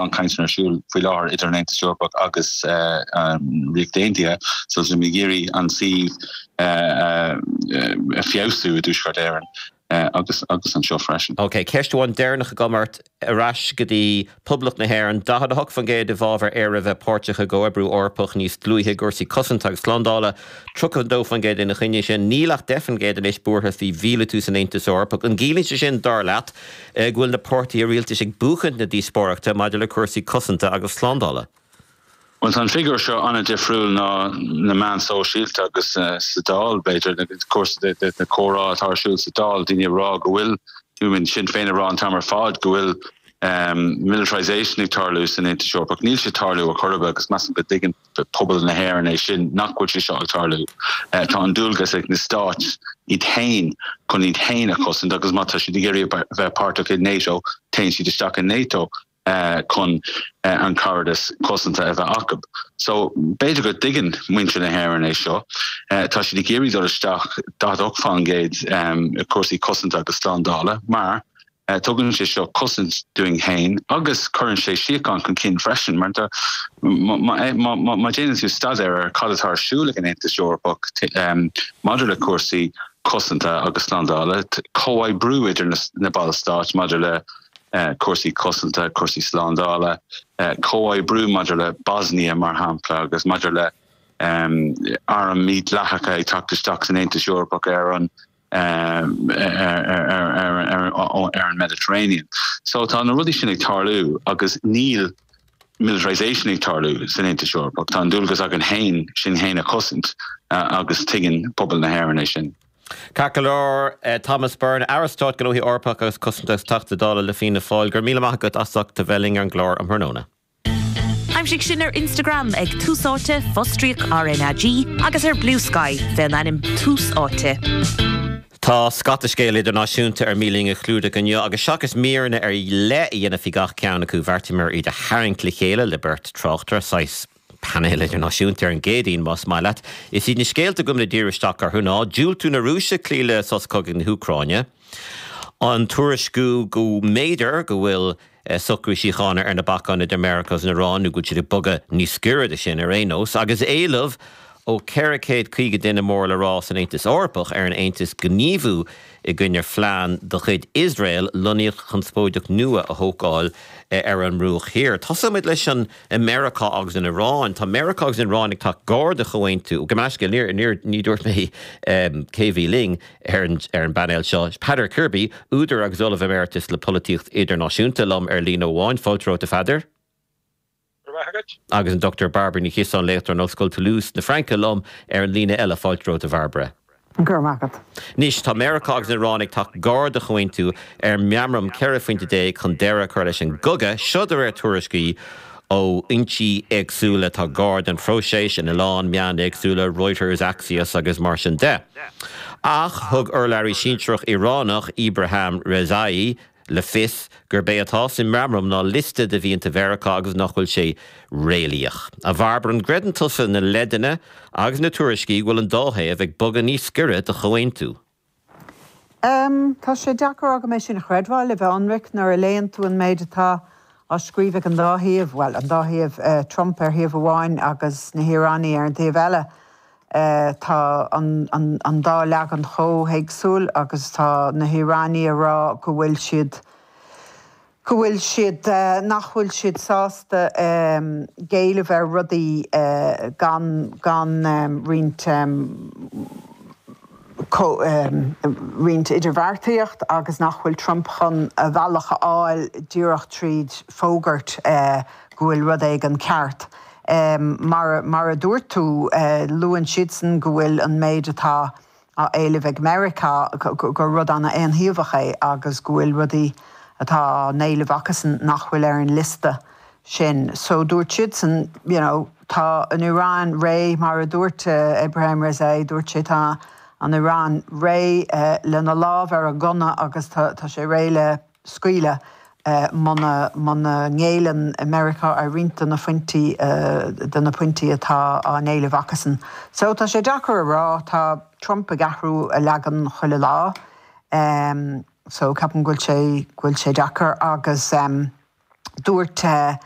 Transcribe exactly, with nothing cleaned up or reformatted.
An cainteanna ar siúl faoi láthair idir an Aontas Eorpach agus an Ríocht Aontaithe, so tá muid ag iarraidh an suíomh a feabhsú i dTuaisceart Éireann agus agus anseo freisin. Ok, ceist amháin deireanach agam ort ar ais go dtí Poblacht na hÉireann, daichead a hocht faoin gcéad i bhfabhar Éire a bheith páirteach i gcomhoibriú Eorpach níos dlúithe i gcúrsaí cosanta agus slándála, tríocha a dó faoin gcéad ina choinne sin. Níl ach deich faoin gcéad anois buartha faoi mhíleatú san Aontas Eorpach. An gciallaíonn sé sin, dar leat, go bhfuil na páirtithe rialtais ag buachaint na díospóireachta maidir le cúrsaí cosanta agus slándála? Bhuel, tá an figiúr seo an-difriúil ná na meáin sóisialta agus sa Dáil, b'fhéidir, cúrsaí na comhrá atá ar siúl sa Dáil, daoine ag rá go bhfuil, I mean, Sinn Féin ag rá an t-am ar fad go bhfuil militarisation ag tarlú san Aontas Eorpach. Níl sé ag tarlú ar chor ar bith agus measaim go dtuigeann pobal na hÉireann é sin, nach bhfuil sé seo ag tarlú. Tá an dualgas ag na stáit iad féin chun iad féin a chosaint agus má tá siad ag iarraidh bheith páirteach i NATO, téann siad isteach i NATO chun an caradas cosanta a bheith acu. So b'fhéidir go dtuigeann muintir na hÉireann é seo. Tá siad ag iarraidh dul isteach daichead a hocht faoin gcéad i cúrsaí cosanta agus slándála mar tugann sé seo cosaint dúinn féin agus cuireann sé síocháin chun cinn freisin mar má déanann tú staidéar ar cad atá ar siúl ag an Aontas Eorpach maidir le cúrsaí cosanta agus slándála, comhoibriú idir na ballstáit maidir le cúrsaí cosanta, cúrsaí slándála, comhoibriú maidir le Bosnia mar shampla agus maidir le airm mídhleathacha ag teacht isteach san Aontas Eorpach ar an ar an Mediterranean. So tá na rudaí sin ag tarlú agus níl militarisation ag tarlú san Aontas Eorpach. Tá an dualgas againn féin sinn féin a chosaint agus tuigeann pobal na hÉireann é sin. Ceart go leor, Thomas Byrne, Aire Stáit Gnóthaí Eorpacha agus Cosanta agus Teachta Dála le Fianna Fáil, go raibh míle maith agat as ucht a bheith linn ar an gclár um thráthnóna. Aimsigh sinn ar Instagram ag Tús Áite, fostríoc R N A G agus ar Bluesky fén ainm Tús Áite. Tá scata scéal idirnáisiúnta ar mian linn a chlúdach inniu agus seachas míreanna ar leith a dhéanamh faoi gach ceann acu bheartaíomar iad a tharraingt le chéile le beirt tráchtaire, saghas painéal idirnáisiúnta ar an gCéadaoin más maith leat. Is iad na scéalta go bhfuil díriú isteach orthu ná diúltú na Rúise cloí le sos cogaidh na hÚcráine, an tuairisciú go mb'fhéidir go bhfuil socrú síochána ar na bacáin idir Meiriceá agus an Iaráin nó go bhfuil siad ag bogadh níos gaire de sin ar aon nós, agus éileamh ó ceithre chéad caoga duine mór le rá san Aontas Eorpach ar an Aontas gníomhú i gcoinne phlean de chuid Iosrael lonnaíocht chonspóideach nua a thógáil ar an mBruach Thiar. Tosóimid leis an Meiriceá agus an Iaráin. Tá Meiriceá agus an Iaráin ag teacht gar do chomhaontú go meascail níor ní dúirt mé cé bhí linn ar an ar an bpainéal seo. Peadar Kirby, údar agus ollamh emeritus le polaitíocht idirnáisiúnta liom ar líne amháin, fáilte romhat a Pheadair. Agus an Doctor Barbara Ní Chiosáin, léachtóir in Ollscoil Toulouse na Fraince liom ar an líne eile, fáilte romhat a Bharbara. Go raibh maith agat. Anois tá Meiriceá agus an Iaráin ag teacht gar do chomhaontú ar meamram ceithre phointe déag chun deireadh a chur leis an gcogadh, seo de réir tuairiscí ó fhoinsí éagsúla atá gar don phróiseas in a lán meán éagsúla, Reuters, Axios agus mar sin de. Ach thug urlabhraí sinsearach Iaránach Ibrahim Rezai le fios gurb é atá sa meamram ná liosta de mhianta Mheiriceá agus nach bhfuil sé réalaíoch. A Bharbara, an gcreideann tusa na leideanna agus na tuairiscí go bhfuil an dá thaobh ag bogadh níos gaire do chomhaontú? Um, tá sé deacair agam é sin a chreidbheáil le bheith ionraic nuair a léann tú an méid atá á scríobh ag an dá thaobh, well an dá thaobh uh, Trump ar thaobh amháin agus na hIoránaigh ar an taobh eile. Uh, tá an, an, an dá leagan chomh héagsúil agus tá na hIoránaigh ag rá go bhfuil siad go bhfuil siad uh, nach bhfuil siad sásta um, géilleadh ar rudaí uh, gan gan um, roinnt um, co, um, roinnt idirbheartaíocht agus nach bhfuil Trump chun a bhealach a fháil díreach tríd fógairt uh, go bhfuil rud éigin ceart. Um, mar, mar a dúirt tú uh, luann siadsan go bhfuil an méid atá á éileamh ag Meiriceá gur rud an-aontaobhach é agus go bhfuil rudaí atá á n-éileamh acusan nach bhfuil ar an liosta sin. So dúirt siadsan you know, tá an Iaráin réidh mar a dúirt uh, Ibrahim Rezai dúirt sé tá an Iaráin réidh uh, lena lámh ar a gunna agus tá, tá sé réidh le scaoileadh uh, muna muna ngéilleann America ar roinnt de na pointí uh, de na pointí atá á n-éileamh acusan. So tá sé deacair a rá tá Trump ag athrú a leagan chuile lá. Um, so ceapaim go bhfuil sé go bhfuil sé deacair agus um, Dúirt uh,